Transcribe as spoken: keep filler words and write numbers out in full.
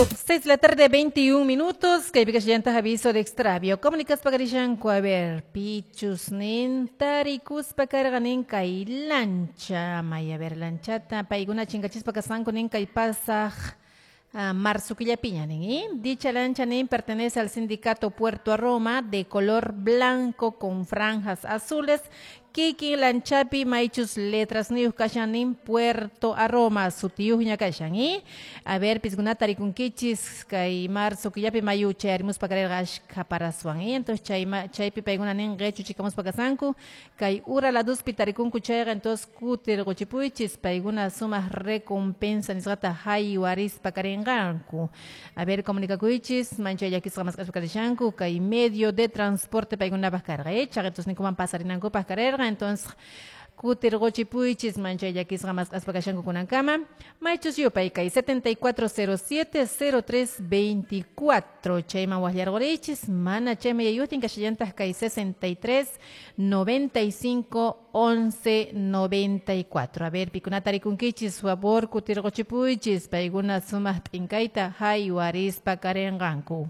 Seis de la tarde, veintiún minutos. Kaypi kashallantaq aviso de extravio. Comunicaspa karishanku, a ver, pichus nin tarikuspa karqa nin kay lancha. May, a ver, lanchata. Paykuna chinkachispa kasqanku nin kay pasaq uh, marzo killapiña nin, ¿eh? Dicha lancha nin pertenece al sindicato Puerto a Roma, de color blanco con franjas azules. Kikin lanchapi maychus letras niyuq kashan nin Puerto a Roma sutiyuqña kashan, ¿eh? A ver, piskunata rikunkichis kay marzo killapi mayu chayarimuspa karerqa ashkha paraswan, ¿eh? Entonces chay chaypi paykuna nin qichuchikamuspa kasanku kay ura laduspi tarikunku chayqa, entonces kutirquchipuychis, paykuna sumaq recompensa nisqata haywarispa karinqanku. A ver, comunicakuychis, manchay llakisqa mask'aspa karishanku kay medio de transporte paykunapaq karqa, ¿eh? Chaqetus ninkuman pasarinankupaq karerqa. Entonces kutirquchipuychis, manchay llakisqa mask'aspa kashanku kunankama. Maychus yupay kay setenta y cuatro cero siete cero tres veinticuatro chayman waqllarqurichis, mana chayman yayutin kashallantaq kay sesenta y tres noventa y cinco once noventa y cuatro. A ver, pikunata rikunkichis, favor kutirquchipuychis, paykuna sumaq t'inkayta haywarispa karinqanku.